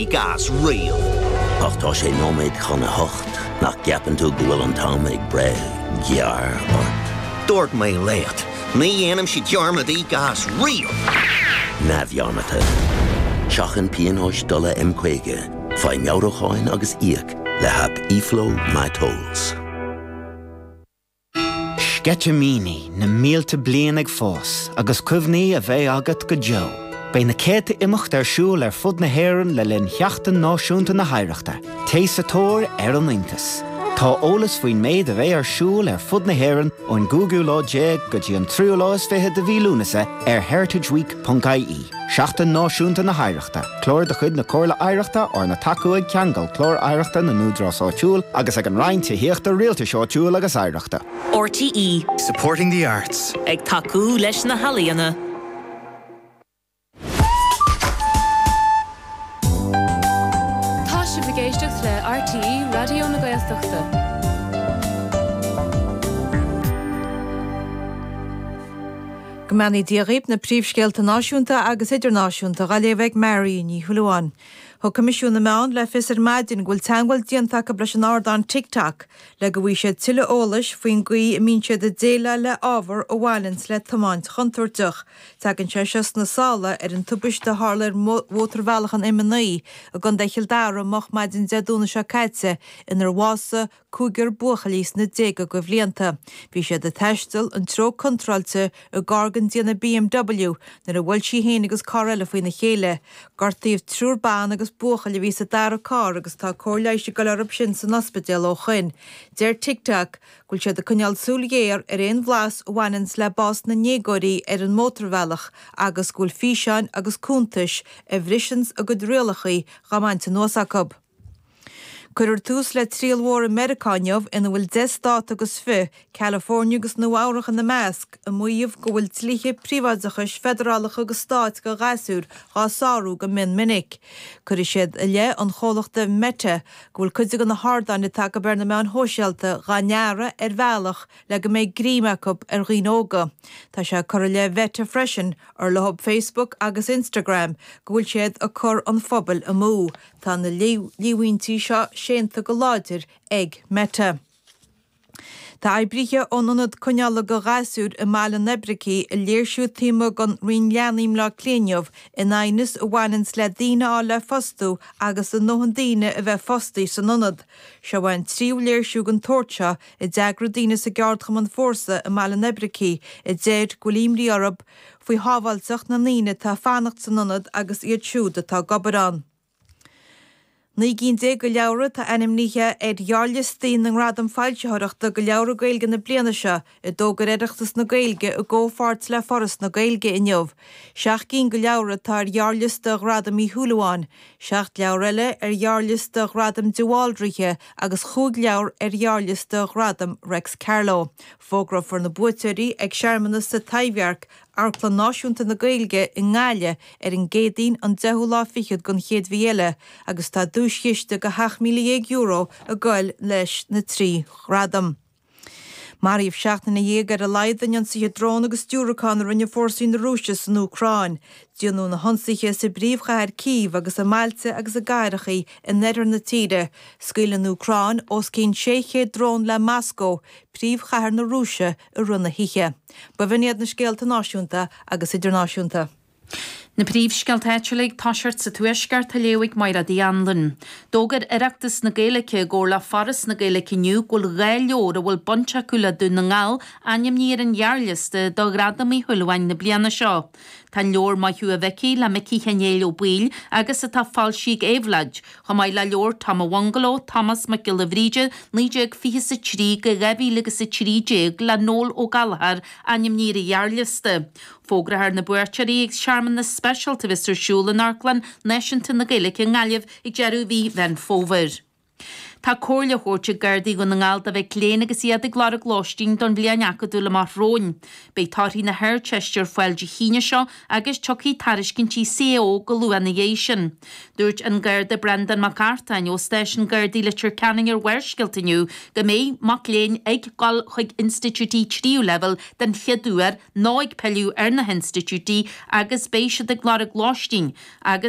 Gas riamh. Ach tá sé nóiméad chun a hocht, nach gceapann tú go bhfuil an t-am ag breith gearr ort? Dúirt mé leat, ní dhéanaimse dearmad íoc as riamh! Neamhdhearmadta. Seachain pionóis dola M50, faigh meabhrúcháin agus íoc le haip eFlow MyTolls. Sceitimíní na mílte bliain ag fás agus cuimhní a bheidh agat go deo. Beidh na céadta imeacht ar siúl ar fud na hÉireann le linn Sheachtain Náisiúnta na hOidhreachta. Téigh sa tóir ar an iontas! Tá eolas faoin méid a bheidh ar siúl ar fud na hÉireann ón gcúigiú lá déag go dtí an tríú lá is fiche de mhí Lúnasa ar heritageweek.ie. Seachtain Náisiúnta na hOidhreachta, clár de chuid na Comhairle Oidhreachta arna tacú ag Ceangal Clár Oidhreachta na nÚdarás Áitiúil agus ag an Roinn Tithíochta, Rialtais Áitiúil agus Oidhreachta. RTÉ. Supporting the arts. Ag tacú leis na healaíona. Tá sibh ag éisteacht le RTÉ Raidió na Gaeltachta. Go mbeannaí Dia dhaoib, na príomhscéalta náisiúnta agus idirnáisiúnta dhá léamh ag Mary Ní Shúilleabháin. Thug Coimisiún na Meán le fios ar maidin go bhfuil teagmháil déanta acu leis an ardán TikTok le go bhfaighidh siad tuilleadh eolais faoin gcaoi a mbíonn siad ag déileáil le ábhar a bhaineanns le tiomáint chontúirteach. Tagann sé seo sna sála ar an tubaiste a tharla ar mhótarbhealach an M9 i gContae Chill Dara moch maidin Dé Domhnaigh seo caite inar bhásaigh cúigear buachaillí sna déaga de bhlianta. Bhí siad ag taisteal an treo contráilte i gcarr den déanamh BMW nuair a bhuail sí féin agus carr eile faoina chéile. Gortaíodh triúr ban agus buachaill a bhí sa dara carr agus tá cóir leighis ag goil orthu sin san ospidéal ó shoin. Deir TikTok go bhfuil siad ag coinneáil súil ghéar ar aon bhlas a bhaineanns le bás na ndéagóirí ar an mótarbhealach agus go bhfuil físeáin agus cuntais a bhriseanns a gcuid rialachaí dhá mbaint anuas acu. Cuirfear tús le triail mhór i Meiriceá inniu ina bhfuil 10 stát agus fiche, California agus Nua Eabhrach ina measc, ag maíomh go bhfuil dlíthe príobháideachais feidearálacha agus stáit do ghasúir dhá sárú go mion minic. Cuirfidh siad i leith an chomhlachta Meta go bhfuil cuid de na hardáin atá acu ar na meáin shóisialta dhá ndearadh ar bhealach le go mbeidh greim acu ar dhaoine óga. Tá sé curtha i leith Mheta freisin, ar leo Facebook agus Instagram, go bhfuil siad ag cur an phobail amú. Tá na líomhaintí seo séanta go láidir ag Meta. Tá oibrithe ón ionad coinneála do ghasúir i mBaile an Oibricigh ag léirsiú taobh amuigh den Roinn Leanaí i mBleá Cliath inniu in aighneas a bhaineanns le daoine a fháil le fostú agus a ndóthain daoine a bheith fostaithe san ionad. Seo é an tríú léirsiú den tsórt seo a d'eagraigh daoine sa gceardchumann Fórsa i mBaile an Oibricigh a deir go bhfuil imní orthu faoi shábháilteacht na ndaoine atá ag fanacht san ionad agus iad siúd atá ag obair ann. 19 gcinn de leabhra atá ainmnithe ar ghearrliostaí na nGradam Foilsitheoireachta do Leabhra Gaeilge na bliana seo, a d'fhógair Oireachtas na Gaeilge i gcomhpháirt le Foras na Gaeilge inniu. Seacht gcinn de leabhra atá ar ghearrliosta Ghradam Uí Shúilleabháin, seacht leabhar eile ar ghearrliosta Ghradam de Bhaldraithe agus chúig leabhar ar ghearrliosta Ghradam Reics Carló. Fógrófar na buaiteoirí ag searmanas sa Taibhdhearc Amharclann Náisiúnta na Gaeilge i nGaillimh ar an gCéadaoin an deichiú lá fichead den chéad mhí eile agus tá duaischiste de €17,000 ag goil leis na trí ghradam. Maraíodh 17 nduine ar a laghad in ionsaithe drón agus diúracán a rinne fórsaí na Rúise san Úcráin. Déanadh na hionsaithe sa bpríomhchathair Cív agus i mbailte agus i gcathrachaí in oirthear na tíre. Scaoil an Úcráin os cionn 600 drón le Moscó, príomhchathair na Rúise, i rith na hoíche. B'in iad na scéalta náisiúnta agus idirnáisiúnta. Na príomhscéalta áitiúla ag toiseacht sa Tuaisceart á léamh ag Mairéad Uí Anluain. D'fhógair Oireachtas na Gaeilge i gcomhar le Foras na Gaeilge inniu go bhfuil 2 leabhar a bhfuil baint acu le Dún na nGall ainmnithe ar an ghearrliosta do Ghradam Uí Shúilleabháin na bliana seo. Tá an leabhar Maith Thú a Mhicí le Micí Chinéil Ó Baoill agus atá foilsithe ag Éabhlóid, chomh maith le leabhar Tom a' Bhungaló, Tomás Mac Giolla Bhríde, 1923-2013 le Noel Ó Gallchóir ainmnithe ar an ghearrliosta. Fógrófar na buaiteoirí ag searmanas speisialta a bheas ar siúl in Amharclann Náisiúnta na Gaeilge i nGaillimh ag deireadh mhí Mheán Fómhair. Tá comhairle á thabhairt ag Gardaí Dhún na nGall do mhic léinn agus iad ag lorg lóistín don bhliain acadúil amach romhainn. Beidh torthaí na hArdteiste ar fáil Dé hAoine seo agus tiocfaidh tairiscintí CAO go luath ina dhiaidh sin. Dúirt an Garda Breandán Mac Artáin ó Stáisiún Gardaí Leitir Ceanainn ar Bharrscéalta inniu go mbeidh mac léinn ag dul chuig institiúidí tríú leibhéal den chéad uair nó ag pilleadh ar na hinstitiúidí agus beidh siad ag lorg lóistín agus.